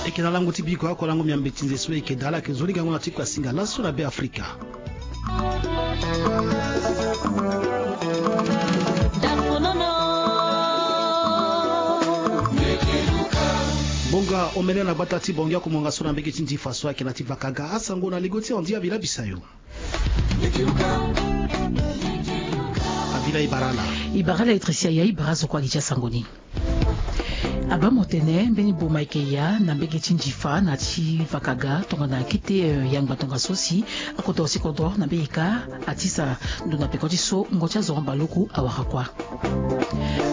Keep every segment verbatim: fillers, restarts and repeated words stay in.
Eke na lango ti biko ako lango miambe ti nze so eke dala ake zo ligango na ti kua singa laso na be afrika. Bonga omene na gbata ti bongi ako monga so na mbege ti ndifa so ake na ti vakaga asango na ligo ti andi avila bisayo. Avila ibarala. Ibarala etrisia ya ibara zo kua gi ti asango ni. Abamo tene mbeni boma eke ya na mbege ti ndifa na ti vakaga tongana akete yangba tongaso si akoto si kodro na mbege ka atisa ndo na peko ti so ngo ti azo mbaluku awara kua.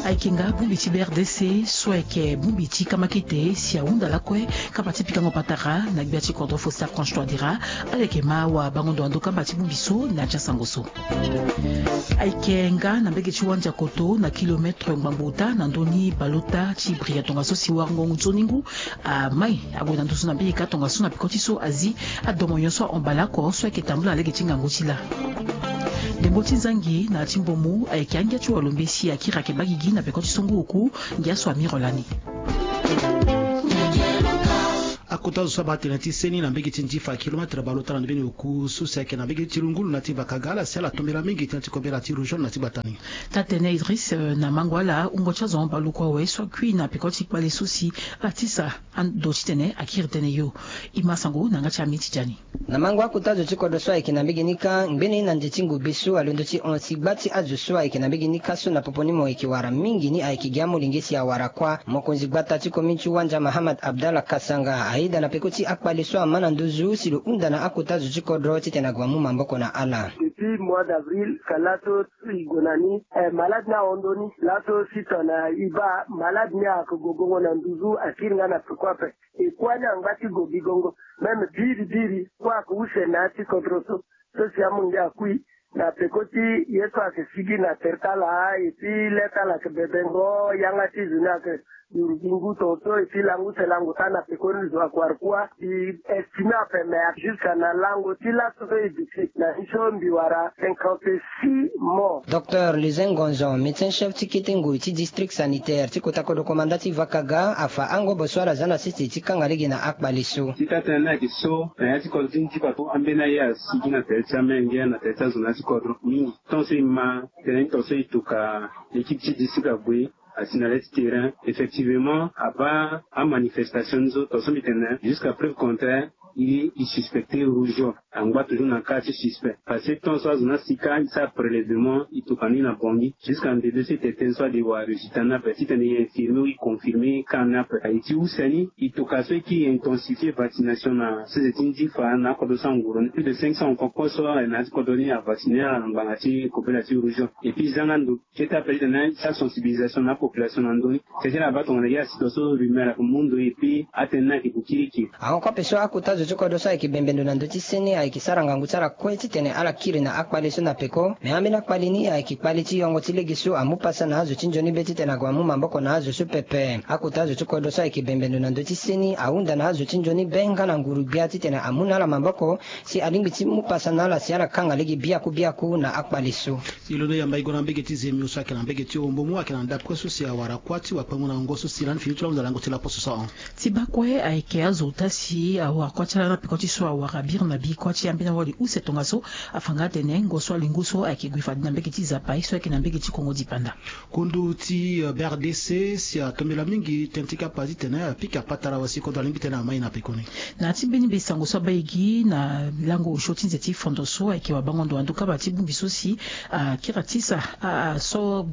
Ayeke nga bongbi ti brdc so ayeke bongbi ti kamakete si ahunda lakue kapa ti pikango patara na gbia ti kodro fo sarkange toadera. Aleke ma wa bango ndo ando kamba ti bongbi so na ya ti asango so. Ayeke nga na mbege ti wandia koto na kilometre ngbangbo ota na ndoni baleota ti bria tongaso si warango ngu nzoni ngu amai ague na nduzu na mbege ka tongaso na peko ti so azi adomo nyonso ahon baleoko so ayeke tambula na lege ti ngangu ti la. Ndembo ti nzangi na ti mbomu ayeke angia ti walombe si akiri ake bagigi na peko ti so ngu oku. Ngia so amiro lani. Akota zo so abaa tene ti seni na mbege ti ndifa kilometre baleota na ndembeni oku so si ayeke na mbege ti lungulu na ti vakaga ala si ala tombela mingi tënë ti kobela ti rougeole na ti gbata ni. Taa-tene idris na mango ala wungo ti azo mbaluku awe so akui na peko ti kpale so si ala tisa ando titene akiri tënë yo. E ma sango na yanga ti ami ti dia ni. Na mango akota zo ti kodro so ayeke na mbege ni kâ ngbene na nze ti ngube so alondo ti hon si gba ti azo so ayeke na mbege ni kâ so na popo ni mo yeke wara mingi ni ayeke gi amolenge si awara kuâ. Mokonzi gbata ti komin ti wandia mahamad abdallah kasanga ayeda na peko ti akpale so ama na nduzu si lo hunda na akota zo ti kodro titene ague amu maboko na ala. Depuis mois d'avril ka laso e gue na ni malade ni ahon ndoni laso si tongana e baa malade ni ayeke gogongo na nduzu akiri nga na peko ape. E kuâ ni angba ti go bigongo même biri biri kuâ ake use na ya ti kodro so. So si amu nge akui na peko ti ye so ake sigi na tere ti ala et puis le ti ala ake bebengo yanga ti zo ni ake duru gi ngu tongaso et puis langu se lango taa na peko ni zo ake wara kuâ. E estime ape mais jusqu'à na lango ti laso so e duti na ni so mbi wara cinquante-six morts. Docteur Luzin Ngonzon, médecin chef ti kete ngoi ti district sanitaire ti kota kodro komanda ti Vakaga, afa angobo so ala za na sese ti kanga lege na akpale so. Ti taa-tënë ni ayeke so na ya ti kodro ti ndifa so ambeni aye asigi na tere ti amenge na tere ti azo na ya ti kodro mingi. Tant so e ma tënë ni tant so e tuka l'équipe ti district ague asi na le ti terrain. Effectivement abaa amanifestation ni so tant so mbi tene jusqu'à preuve contraire e e suspecte rougeole. Angba toujours na cas ti suspect parce que tant so azo ni asi kâ e sara prélèvement e tokua ni na bongi jusqu'à ndede so e tene tënë so ade wara résultat ni ape titene e infirmer ou e confirmer cas ni ape. Aye ti use ni e tokua so e kiri intensifie vaccination na sese ti ndifa na akodro so anguru ni plus de cinq cents enfants kue so aye na ya ti kodro ni avacciner ala na ngbanga ti kobela ti rougeole. Et puis e za nga ndo kete ape titene e sara sensibilisation na apopulation na ndö ni. Tënë ti ala baa tongana ye asi tongaso rumeur ake mu ndo et puis atënë ni ayeke gue kirikiri. Ahon kue ape so akota zo ti kodro so ayeke bembe ndo na ndö ti seni ayeke sara ngangu ti ala kue titene ala kiri na akpale so na peko. Me ambeni akpale ni ayeke kpale ti yongo ti lege so amu pasa na azo ti nzoni be titene ague amu maboko na azo so pepe. Akota zo ti kodro so ayeke bembe ndo na ndö ti seni ahunda na azo ti nzoni be nga na nguru-gbia titene amu na ala maboko si alingbi ti mu pasa na ala si ala kanga lege biaku biaku na akpale so. Si londo yamba e gue na mbege ti zemio so ayeke na mbege ti ombo mu ayeke na ndapre so si awara kuâ ti wakpengo na ngo so si lani fini ti lango na lango ti laposo so ahon. Ti baa kue ayeke azo ota si awara kuâ ti ala na peko ti so awara biri na biri kuâ ti ambeni awali use tongaso. Afa nga atene ngo so alingo so ayeke gue fade na mbege ti zapai so ayeke na mbege ti kongo dipanda. Kundu ti brdc si atombela mingi tënë ti kapa titene apika patara wa si kodro alingbi titene amai na pekoni. Na ya ti mbeni be sango so abaa e gi na lango osio ti nze ti fondo so ayeke wabango ndo ando kaba ti bongbi so si akiri atisa so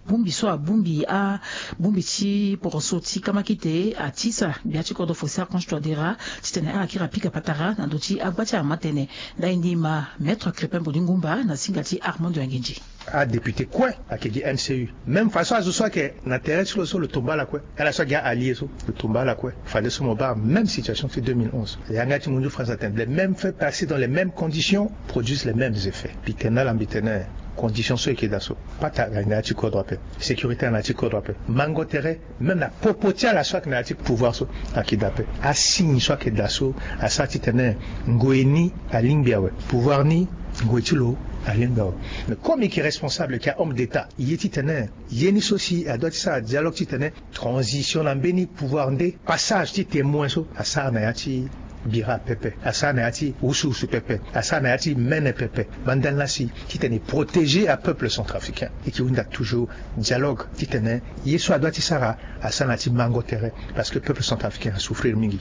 bongbi so abongbi abongbi ti poroso ti kamakete atisa gbia ti kodro fo sarkange toadera titene ala kiri apika patara na ndö ti agba ti amama tënë. Ndani ni ma maître crepin boni ngumba na singa ti armando ya nginzi. Adéputé kue ayeke gi mcu. Même façon azo so ayeke na tere ti lo so lo tomba ala kue. Ala so agi a-allié so lo tomba ala kue. Fadeso mo baa même situation ti deux mille onze yanga ti mondiaux france atene les mêmes faits passés dans les mêmes conditions produisent les mêmes effets. Mbi tene na ala mbi tene conditions so eke daa so patara na ya ti kodro ape. Sécurité na ya ti kodro ape mango tere. Même na popo ti ala so ayeke na ya ti pouvoir so ayeke daa ape. Asigne so ayeke daa so asara titene ngoi ni alingbi awe. Pouvoir ni ngoi ti lo Alingbi awe. Mais comme e yeke responsable, e yeke homme d'état, e ye titene ye ni so si adoit ti sara dialogue titene transition na mbeni pouvoir nde passage ti témoin so asara na ya ti bira pepe, asara na ya ti wusuwusu pepe, asara na ya ti mene pepe. Bandal na si titene e protéger apeuple centrafricain, e yeke hunda toujours dialogue titene ye so adoit ti sara asara na ya ti mango tere, parce que peuple centrafricain asouffrir mingi.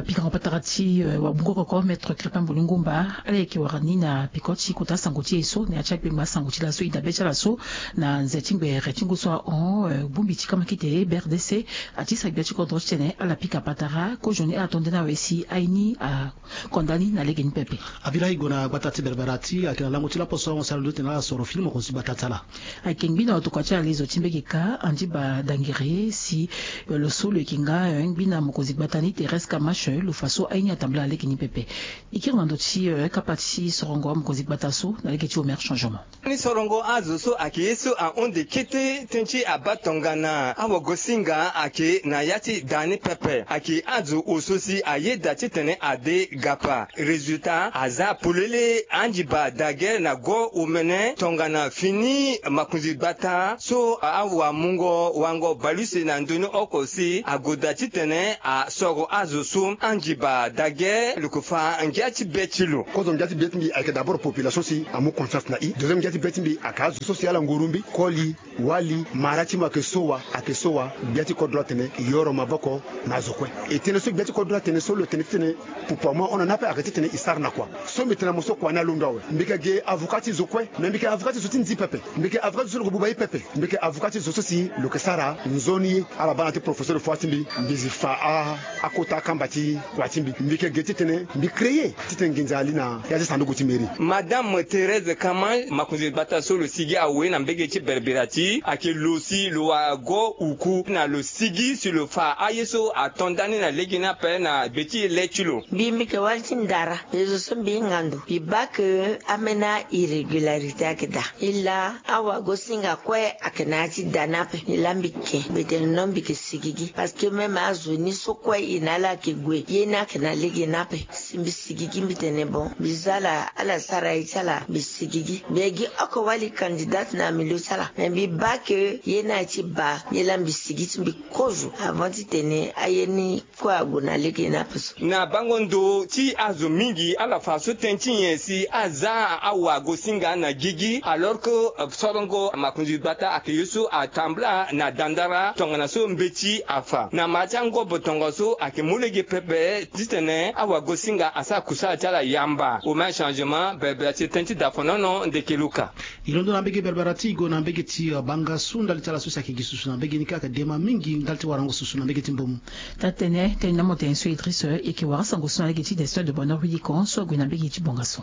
Pikango patara ti wabungo koko, maître Crépin Bolingomba, ala yeke wara ni na peko ti kota sango ti e so na ya ti akpengba sango ti laso, e dabe ti ala so na nze ti ngbere ti ngu so ahon, bongbi ti kamakite B R D C ati sa gbia ti kodro titene ala pika patara kozoni ala to nde na awe si aye ni akonda ni na lege ni pepe. Abira e gue na gbata ti Berbera ti ayeke na lango ti lapo so ahon si ala ndo titene ala soro fini mokonzi gbata ti ala. Ayeke ngbi na otokua ti ala lezo ti mbege ka Andiba Dangere si lo so lo yeke nga ngbi na mokonzi gbata ni Thérèse Kamache, lo fa so aye ni atambula na lege ni pepe. E kiri na ndo ti kapa ti sorongo mokonzi gbata so na lege ti Omer Changement. Ni sorongo azo so ayeke ye so ahunde kete tënë ti abaa tongana awagosinga ayeke na ya ti daa ni pepe. Ayeke azo oso si ayeda titene ade gapa. Résultat aza polele. Andiba Dangere na go omene tongana fini makonzi gbata so awamungo wango baleuse na ndoni oko si agoda titene asoro azo so. Andiba Dangere lo yeke fa ngia ti be ti lo. Kozo ngia ti be ti mbi ayeke d'abord population si amu conscience na e. Deuxième ngia ti be ti mbi ayeke azo so si ala nguru mbi, koli, wali, mara ti mo ayeke so wa, ayeke so wa. Gbia ti kodro atene yoro maboko na azo kue. E tënë so gbia ti kodro atene so lo tene titene pupu amu ahon na ni ape ayeke titene e sara na kua. So mbi tene na mo so kua ni alondo awe. Mbi yeke ge avocat ti zo kue, me mbi yeke avocat ti zo ti nzi pepe. Mbi yeke avocat ti zo so lo yeke buba ye pepe. Mbi yeke avocat ti zo so si lo yeke sara nzoni ye. Ala baa na ti professeur fua ti mbi, mbi zi fa a, akota akamba ti kua ti mbi. Mbi yeke ge titene mbi créer titene nginza ali na ya ti sanduku ti mairie. Madame Thérèse Kamache, makonzi gbata so lo sigi awe na mbege ti Berbera ti ayeke lo si lo wara go uku na lo sigi si lo fa aye so ato nda ni na lege ni ape na gbe ti le ti lo. Mbi, mbi yeke wali ti ndara. Mbi zo so mbi hinga ndo, mbi baa ke ambeni irrégularité ayeke daa. E laa awagosinga kue ayeke na ya ti da ni ape. E laa mbi ke, mbi tene non, mbi yeke sigigi. Parce que même azo ni so kue e na ala ayeke gue, ye ni ayeke na lege ni ape. Si mbi sigigi, mbi tene bon, mbi zia ala, ala sara ye ti ala, mbi sigigi. Mbi yeke gi oko wali candidate na milieu ti ala. Me mbi baa ke ye ni aye ti baa, ye laa mbi sigi ti mbi kozo avant titene aye ni kue ague na lege ni ape so. Na bango ndo ti azo mingi ala fa so tënë ti nyen si aza awagosinga na gigi, alors que sorongo makonzi gbata ayeke ye so atambula na dandara tongana so mbeti afa. Na mara ti angobo tongaso ayeke mu lege pepe titene awagosinga asara kusala ti ala yamba. Omer Changement, Berbera ti tënë ti dafonono, ndeke luka. E londo na mbege Berbera ti e gue na mbege ti Bangassou, ndali ti ala so si ayeke gi susu na mbege ni kâ ayeke dema mingi ndali ti warango susu na mbege ti Mbomou. Taa-tënë, tënë na mo tene so Idriss e yeke wara sango so na lege ti Destin de Bonheur Willy Cohen so ague na mbege ti Bangassou.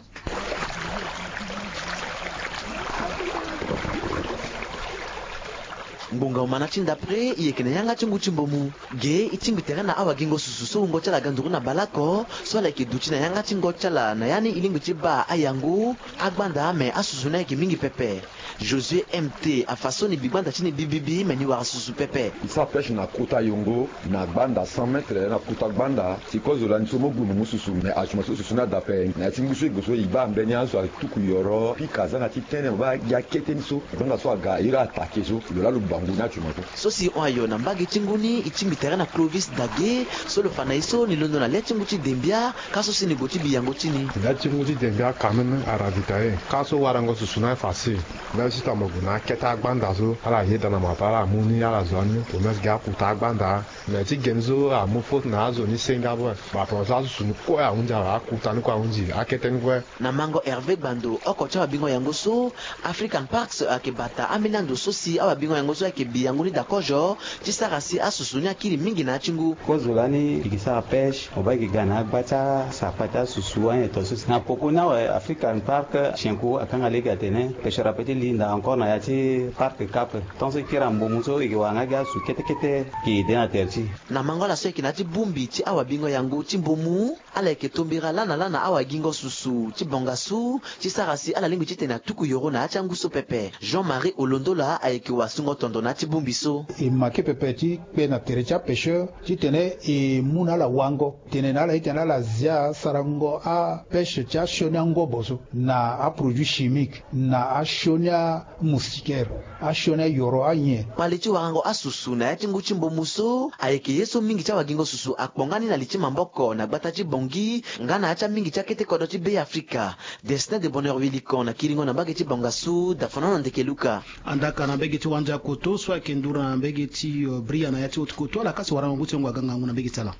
Ngbonga omana ti ndapre e yeke na yanga ti ngu ti Mbomou. Ge e tingbi tere na awagingo susu so wungo ti ala ga nduru na baleoko so ala yeke duti na yanga ti ngo ti ala na ya ni e lingbi ti baa ayangu, agbanda, me asusu ni ayeke mingi pepe. Josué M T afa so ni bi gbanda ti ni bibibi, me ni wara susu pepe. E sara pêche na kota yongo na gbanda cent mètres na kota gbanda. Si kozo lani so mo gue mo mu susu, me atuma so susu ni ada ape. Na ya ti ngu so e gue so e baa mbeni azo atuku yoro pika aza na ti tene mo baa gi akete ni so. Gbanda so aga iri attaqué so lo laa lo bangu ni atuma so. So si e hon ayo na mbage ti ngu ni, e tingbi tere na Clovis Dage so lo fa na e so ni londo na le ti ngu ti Dembia, ka so si ni gue ti bi yango ti ni. Le ti ngu ti Dembia quand même aravitaillé, ka so warango susu ni aye facile. Même si tongana mo gue na akete agbanda so ala yeda na mo ape, ala mu ni ala zo ani, au moins gi akuta agbanda. Mais ti geni so amu faute na azo ni senga ape. Ba problème so asusu ni kue ahunzi awe, akuta ni kue ahunzi, akete ni kue. Na mango Hervé Gbando, oko ti awabingo yango so, African Parks ayeke bata ambeni ando so si awabingo yango so ayeke bi yango ni dakozo ti sara si asusu ni akiri mingi na ya ti ngu. Kozo lani e ke sara pêche, mo baa e ke ga na agba ti asapa ti asusu anyeto so si na poko ni awe. African Park Chinko akanga lege atene pêcheur ape ti linda encore na ya ti Parc Cap. Tant so e kiri na Mbomou so e ke wara nga gi azo kete kete e ke aidé na tere ti e. Na mango ala so ayeke na ya ti bongbi ti awabingo yango ti Mbomou, ala yeke tombera lana lana awagingo susu ti Bangassou ti sara si ala lingbi titene atuku yoro na ya ti angu so pepe. Jean-Marie Olondola ayeke wasungo tondo. na ya ti bongbi so. E make pepe ti kpe na tere ti apêcheur titene e mu na ala wango tene na ala titene ala zia sarango apêche ti asioni angobo so na aproduit chimique na asioni amoustiquaire, asioni ayoro anyen. Kpale ti warango asusu na ya ti ngu ti mbomu so ayeke ye so mingi ti awagingo susu akpo nga ni na li ti maboko na gbata ti Bangui nga na ya ti amingi ti akete kodro ti Beafrika. Destin de Bonheur Wilikon na kiringo na mbage ti Bangassou, Dafono na ndeke Luka. Andaka na mbege ti Wandia Koto so ayeke nduru na mbege ti, euh, Bria na ya ti Haute Koto, ala kasi warango ngu ti yongo aga ngangu na mbege ti ala.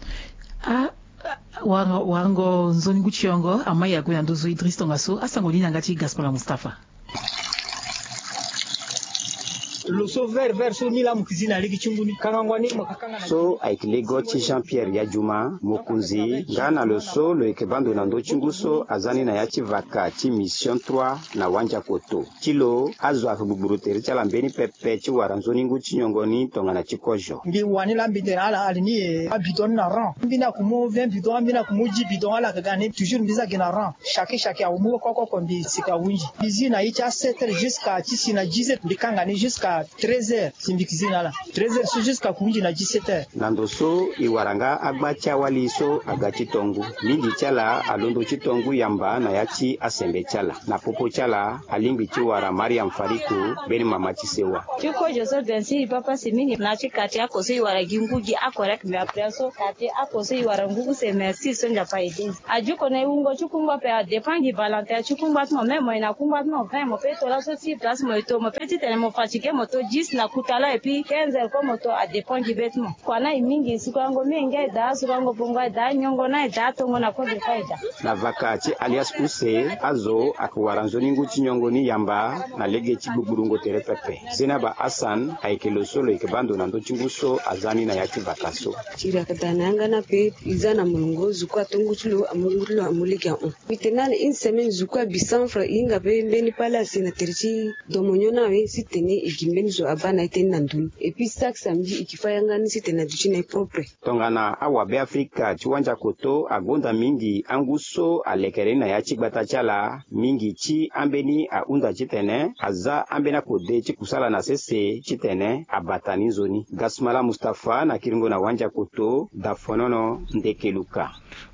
Ah, ah, warango, warango nzoni ngu ti yongo, amai ague na nduzu Idriss Tongassou, asango ni na yanga ti Gaspard Mustapha. Lo so vert vert so ni laa mo yeke zi na lege ti ngu ni, kangango ni mo yeke kanga na. So ayeke lego ti Jean Pierre Yadjuma, mokonzi nga na lo so lo yeke baa ndo na ndö ti ngu so aza ni na ya ti vaka ti mission trois na Wandia Koto. Ti lo, azo ayeke gbugburu tere ti ala mbeni pepe ti wara nzoni ngu ti nyongo ni tongana ti kozo. Mbi wani laa mbi tene ala ali ni e abidon ni na rang. Mbi ni aku mu vingt bidon, mbi ni aku mu dix bidon, ala yeke ga ni toujours mbi za gi na rang. Chaque chaque amu koko oko mbi sika hunzi. Mbi zi na ye ti a sept heures jusqu'à ti si na dix heures, mbi kanga ni jusqu'à treize heures. Si mbi yeke zi na ala treize heures so jusqu'à hunzi na dix-sept heures. Na ndo so e wara nga agba ti awali so aga ti to ngu. Mingi ti ala alondo ti to ngu yamba na ya ti asembe ti ala. Na popo ti ala alingbi ti wara Mariam Fariku, mbeni mama ti sewa. Ti kozo so bien sûr e papa si mingi na ti quartier oko so e wara gi ngu gi akorek, mais après so quartier oko so e wara ngu use merci so Nzapa aidé. Ajuko na e wungo ti kungba ape adépend gi Valentin ti kungba ti mo, même mo e na kungba ti mo vingt, mo peut to laso ti place mo e to, mo peut titene mo fatigué mo to dix na kuta lo, et puis quinze heures kue mo to, adépend gi be ti mo. Kua na e mingi, sukango mingi e daa, sukango bongo e daa, nyongo na e daa, tongo na kodro kue e daa. Na vaka ti alias Use, azo ayeke wara nzoni ngu ti nyongo ni yamba na lege ti gbugburu ngo tere pepe. Zenaba Hassan ayeke lo so lo yeke baa ndo na ndö ti ngu so aza ni na ya ti vaka so. Tiri ayeke daa na yanga ni ape, e za na molongo, zo kue ato ngu ti lo, amu ngu ti lo amu lege ahon. Mbi tene na ala une semaine zo kue abi cent francs, e hinga be mbeni palace na tere ti domonyo ni awe, si tene e gi mbeni zo abaa na e tënë na ndo ni. Et puis chaque samedi e ke fâ yanga ni si tene aduti na e propre. Tongana awabe Afrika ti Wandia Koto agonda mingi angu so alekere ni na ya ti gbata ti ala, mingi ti ambeni ahunda titene aza ambeni akode ti kusala na sese titene abata ni nzoni. Gasmala Mustapha na kiringo na Wandia Koto, Dafonono, Ndeke Luka.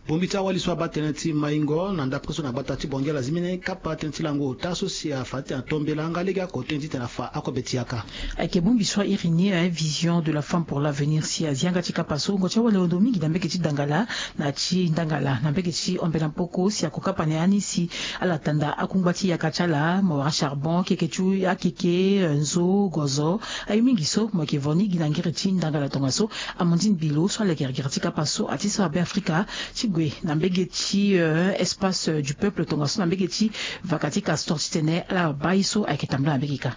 Bongbi ti awali so abaa tënë ti maingo na ndapre so na gbata ti Bangui ala zi mbeni kapa tënë ti lango ota so si afa titene ato mbela nga lege oko tënë titene afa akobe ti yaka. Ayeke bongbi so a iri ni, eh, Vision de la femme pour l'avenir, si azi yanga ti kapa so ngo ti awali londo mingi na mbage ti Dangala na ti Ndangala na mbage ti Ombela Mpoko, si ako kapa na ya ni si ala tanda akungba ti yaka ti ala, mo wara charbon, keke ti akeke, eh, nzo, gozo, aye mingi so mo yeke vo ni gi na ngiri ti Ndangala tongaso. Amandine Bilo so aleke gere ti kapa so ati so abe Afrika ti gue na mbage ti, euh, espace, euh, du peuple tongaso na mbage ti vaka ti Castor titene ala baa ye so ayeke tambula na mbage kâ.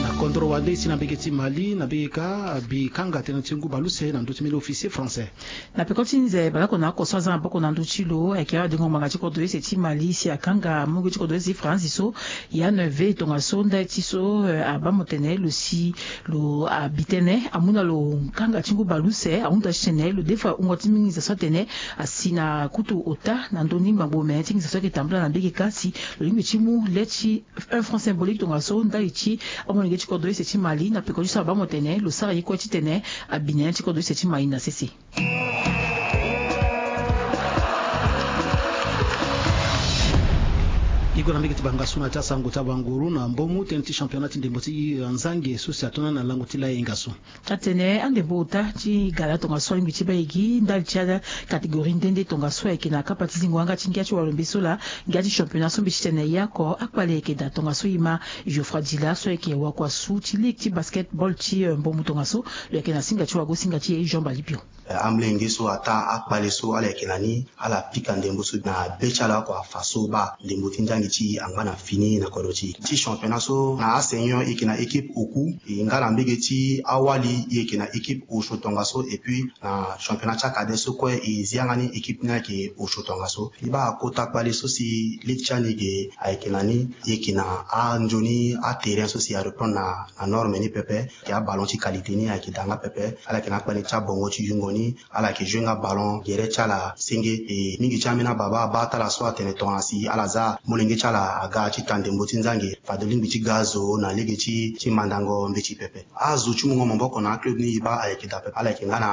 Na kodro wande si na mbage ti Mali na mbage kâ abi kanga tënë ti ngu baleuse na ndö ti mbeni officier français. Na peko ti nze baleoko na oko so aza maboko na ndö ti lo ayeke awadengo ngbanga ti kodro use ti Mali si akanga mungo ti kodro use ti France so Yann Ve tongaso ndali ti so, eh, abaa mo tene lo si lo abi tënë amu na lo kanga ti ngu baleuse ahunda titene lo defa wungo ti mingi za so atene asi na kutu ota na ndö ni ngbangbo me ti nginza so ayeke tambula na mbage kâ si lo lingbi ti mu le ti un franc symbolique tongaso ndali ti amolenge ti kodro use ti Mali na peko ti so abaa mo tene lo sara ye kue titene abi nene ti kodro use ti Mali na sese. E gue na mbage ti Bangassou na ya ti asango ti abanguru na mbomu tënë ti championnat ti ndembo ti nzange so si ato na ni na lango ti layenga so. Atene andembo ota ti gala tongaso alingbi ti baa e gi ndali ti acatégorie nde nde tongaso ayeke na kapa ti zingo yanga ti ngia ti walombe so laa ngia ti championnat so mbi ti tene e oko akpale ayeke daa tongaso e ma Geoffroy Dila so ayeke wakua su ti ligue ti basketball ti, eh, mbomu tongaso lo yeke na singa ti wagosinga ti e Jean Balibio. Eh, amolenge so ataa akpale so ala yeke na ni ala pika ndembo so na be ti ala oko afa so baa ndembo ti nzangi ti e angba na fini na kodro ti e. Ti championnat so na asenior e yeke na équipe oku, e nga na mbege ti awali e yeke na équipe osio tongaso, et puis na championnat ti acadet so kue e zi yanga ni équipe ni ayeke osio tongaso. E baa kota kpale so si ligue ti ani ge ayeke na ni, e yeke na anzoni aterrain so si areprendre na, na norme ni pepe. Ayeke aballon ti qualité ni ayeke daa nga pepe. Ala yeke na akpale ti abongo ti yungo ni. Ala yeke jouer nga ballon gere ti ala senge. E mingi ti ambeni ababa abaa ti ala so atene tongana si ala za molenge ti Ala aga ti ta ndembo ti nzange, fade lingbi ti ga azo na lege ti mandango mbeti pepe. Azo ti mungo maboko na aclub ni e baa ayeke daa pepe. Ala yeke nga na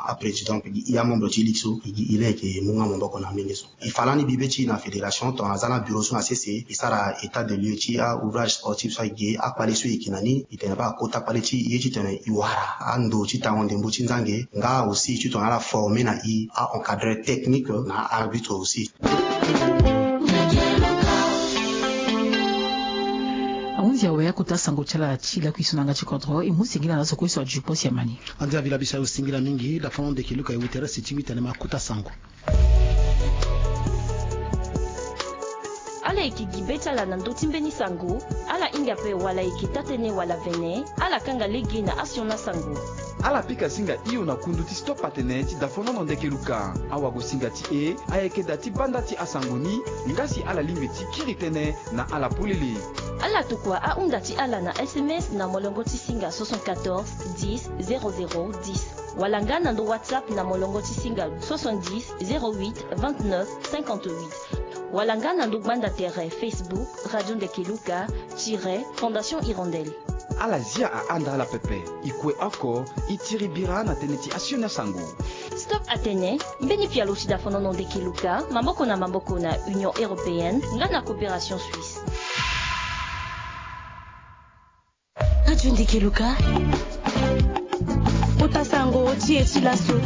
aprésident pe gi i amembre ti ligue so e gi i laa e yeke mu nga maboko na amenge so. E fa lani bibe ti e na fédération tongana aza na bureau so na sese e sara état de lieu ti aouvrage sportif so ayeke ge akpale so e yeke na ni. E tene baa akota kpale ti e ye titene e wara ando ti tango ndembo ti nzange nga aussi titongana ala forme na e a-encadreur technique na arbitre aussi. Ahunzi awe akota sango ti ala ti lakui so na yanga ti kodro e mu singila na so kue so aju kpo si amani. Andia vila biso ayo singila mingi dafono ndeke luka e wu tere si ti wi tene ma kota sango. Ala yeke gi be ti ala na ndö ti mbeni sango. Ala hinga ape wala e yeke taa-tënë wala vene. Ala kanga lege na asioni asango. Ala pika singa hio na kundu ti stop atene ti dafonono ndeke luka. Awagosinga ti e ayeke daa ti banda ti asango ni. Nga si ala lingbi ti kiri tënë na ala polele. Ala tokua ahunda ti ala na sms na molongo ti singa soixante-quatorze dix zéro zéro dix. Wala nga na ndo WhatsApp na molongo ti singa soixante-dix zéro huit vingt-neuf cinquante-huit. Wala nga na ndo gbanda tere Facebook Radio Ndeke Luka tire Fondation Hirondelle. Ala zia ahanda ala pepe. E kue oko e tiri bira na tënë ti asioni asango. Stop atene mbeni pialo ti dafonono ndeke luka maboko na maboko na Union Européenne nga na Coopération Suisse. Radio Ndeke Luka. Kota sango ti e ti laso.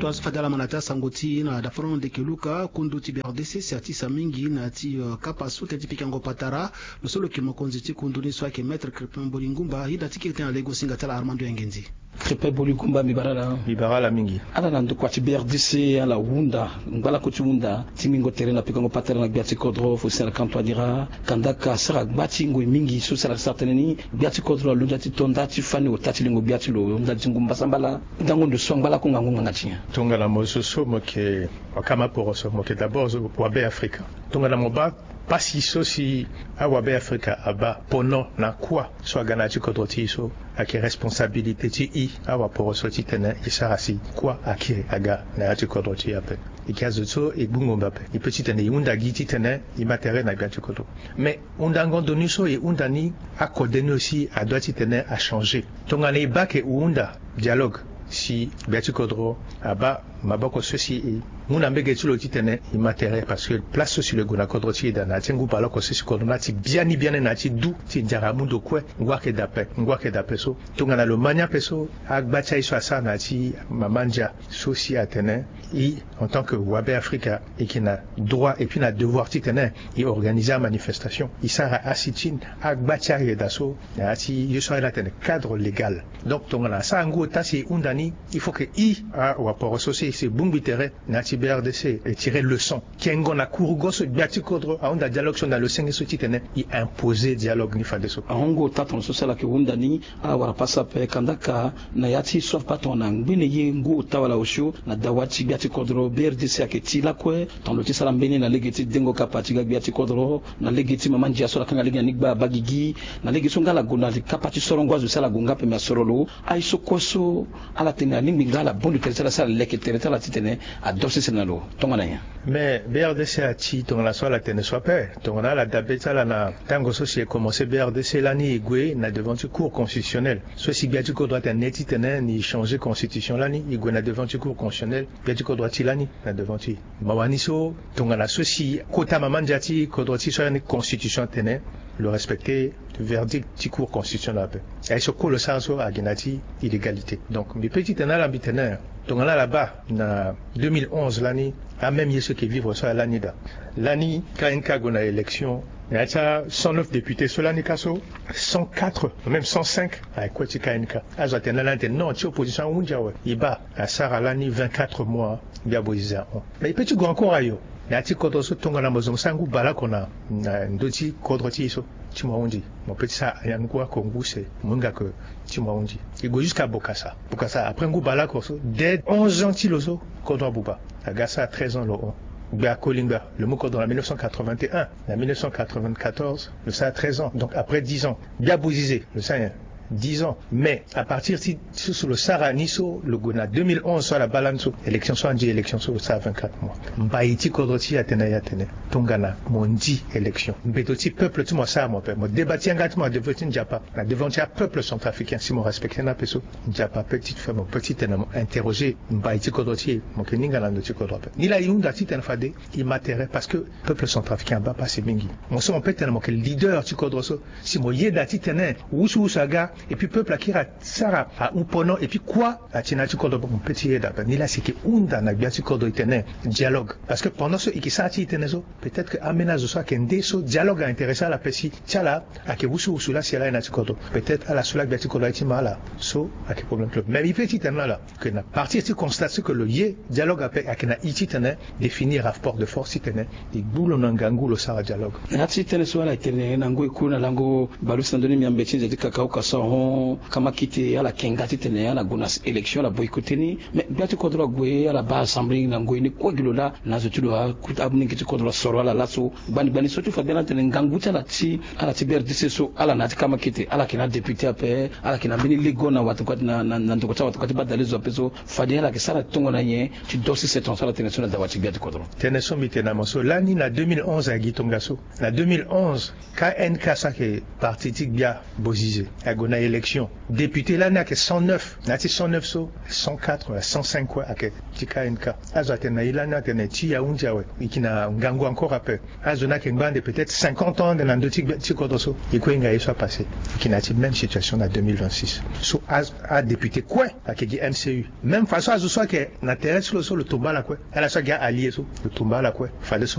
Toa so fade ala ma na ti asango ti e na dafonono ndeke luka kundu ti B R D C si atisa mingi na ya ti kapa so tënë ti pikango patara. Lo so lo yeke mokonzi ti kundu ni so ayeke maître Crépin Bolingumba ahinda ti kiri tënë na lege ti singa ti ala Armando Yangenzi. Crépin Bolingumba mbi bara ala. Mbi bara ala mingi. Ala na ndokua ti B R D C ala hunda ngbalako ti hunda ti mingo tere na pikango patara na gbia ti kodro fo si ala kanto adira. Kandaka asara gba ti ngoi mingi so si ala sara tënë ni gbia ti kodro alondo ti to nda ti fani ota ti lingo gbia ti lo nda ti ngu mbasa mbala. Ndango ndo so angbalako ngangu nganga ti nyen? Tongana mo so so mo yeke wakama poroso mo yeke d'abord wabe Afrika. Tongana mo baa pasi so si awabe Afrika abaa pono na kuâ so aga na ya ti kodro ti e so ayeke responsabilité ti e awaporoso titene e sara si kuâ akiri aga na ya ti kodro ti e ape. E yeke azo so e gbu ngombe ape. E peut titene e hunda gi titene e ma tere na gbia ti kodro. Mais hundango ndo ni so e hunda ni akode ni aussi adoit titene achangé. Tongana e baa ke e hunda dialogue si gbia ti kodro abaa maboko so si e mu na mbege ti lo titene e ma tere parce que place so si lo gue na kodro ti e daa na ya ti ngu baleoko so si kodro ni ati biani biani na ya ti du ti nzara amu ndo kue. Ngu ayeke daa ape ngu ayeke daa ape so tongana lo ma ni ape so agba ti aye so asara na ya ti mama ndia so si atene e en tant que wabe Afrika e yeke na droit et puis na devoir titene e organiser amanifestation e sara asitine agba ti ayeda so na ya ti ye so ala tene cadre légal. Donc tongana asara ngu ota si e hunda ni il faut que e awaporo so si e si e bongbi tere na ya ti B R D C e tire leçon kengo na kurugo so gbia ti kodro ahunda dialogue so na lo senge so titene e imposer dialogue ni fadeso. Ahon ngu ota tongana so si ala yeke hunda ni ala wara pasa ape kandaka na ya ti so afa tongana ngbene ye ngu ota wala osio na dawa ti gbia ti kodro B R D C ayeke ti lakue. Tongana lo ti sara mbeni na lege ti dengo kapa ti ga gbia ti kodro na lege ti mama ndia so ala kanga lege na ni gba abagigi na lege so nga ala gue na li kapa ti sorongo azo si ala gue nga ape me asoro lo. Aye so kue so ala tene alingbi nga ala bondo tere ti ala si ala leke tere ti ala titene ado sese na lo. Tongana nyen? Mais B R D C ati tongana so ala tene so ape tongana ala dabe ti ala na tango so si e commencer B R D C lani e gue na devant ti cour constitutionnelle so si gbia ti kodro atene titene ni changer constitution lani e gue na devant ti cour constitutionnelle. Gbia ti kodro ati lani na devant ti e mawa ni so tongana so si kota mama ndia ti kodro ti so lani constitution atene lo respecter verdict ti cour constitutionnelle ape. Aye so kue lo sara so agi na ya ti illégalité. Donc mbi pe titene ala mbi tene tongana ala baa na deux mille onze lani amême ye so eke vivre so ala lani daa. Lani K N K ague na élection na ya ti a cent neuf députés so lani ka so cent quatre même cent cinq aye kue ti K N K. Azo atene lani atene non ti opposition ahunzi awe. E baa asara lani vingt-quatre mois. Gbia bozize ahon. Mais e pe ti gue encore ayo na ya ti kodro so tongana mo zo mo sara ngu baleoko na ndö ti kodro ti e so ti mo ahunzi. Mo pe ti sara ayangu oko ngu se mo hinga ke ti mo ahunzi. E gue jusqu'à Bokassa. Bokassa après ngu baleoko so dès onze ans ti lo so kodro abuba. Aga asara treize ans lo hon. Gbia Kolingba lo mu kodro na mille neuf cent quatre-vingt-un. Na mille neuf cent quatre-vingt-quatorze lo sara treize ans donc après dix ans. Gbia bozize lo sara nyen? dix ans. Mais à partir ti so so lo sara ni so lo gue na deux mille onze so ala baa lani so, élection so andi, élection so lo sara vingt-quatre mois. Mbai ti kodro ti e atene aye atene tongana mo ndi élection, mbeto ti peuple ti mo asara mo ape, mo débat ti yanga ti mo na devant ti Nzapa, na devant ti apeuple centrafricain, si mo respecter ni ape so, Nzapa peut ti fait, mo peut ti tene mo interroger mbai ti kodro ti e, mo yeke ninga na ndo ti kodro ape. Ni laa e hunda titene fade e ma tere, parce que peuple centrafricain abaa pasi mingi. Mo so mo peut tene mo yeke leader ti kodro so, si mo yeda titene wusuwusu aga, et puis peuple akiri asara ahon pono, et puis kua ati na ya ti kodro, mo peut ti yeda ape. Ni laa si e yeke hunda na gbia ti kodro e tene dialogue. Parce que pendant so e yeke sara ti e tënë so, peut-être que ambeni azo so ayeke nde so dialogue a intéressé ala ape, si ti ala ayeke wusuwusu laa si ala aye na ya ti kodro, peut-être ala so laa gbia ti kodro aye ti ma ala. So ayeke problème ti lo. Mais e peut ti tene na ala que na partir ti constat so que lo ye dialogue ape, ayeke na e titene définir rapport de force titene e gbu lo na ngangu lo sara dialogue. Na ya ti tënë so ala tene na ngoi kue na lango bale use na ndö ni miambe ti nze ti kakao ka so ahon kamakite ala yeke nga titene ala gue na élection, ala boycotter ni. Mais gbia ti kodro ague, ala baa assemblée na ngoi ni kue gi lo laa na azo ti lo, akute, amolenge ti kodro asoro ala laso. Gbani gbani so ti fade ala tene ngangu ti ala ti, ala ti B R D C so, ala na ya ti kamakite, ala yeke na adéputé ape, ala yeke na mbeni lego na watokua ti, na, na, na ndokua ti awatokua ti badalezo ape so, fade ala yeke sara tongo na nyen ti dosi seton so ala tene so na dawa ti gbia ti kodro. Tënë so mbi tene na mo so, lani na deux mille onze ayeke gi tongaso. Na deux mille onze, K N K so ayeke parti ti gbia Bozizé ague na élection. Député lani ayeke cent neuf. Na ya ti cent neuf so, cent quatre wala cent cinq kue ayeke ti K N K. Azo atene na e lani atene ti ya hunzi awe, e yeke na ngangu encore ape. Azo ni ayeke ngba ande peut-être cinquante ans ande na ndö ti gbia ti kodro so. E kue e hinga ye so apassé. E yeke na ya ti même situation na deux mille vingt-six. So a, adéputé kue ayeke gi M C U. Même façon azo so ayeke na tere ti lo so, lo tomba ala kue. Ala so ayeke allié so, lo tomba ala kue. Fade so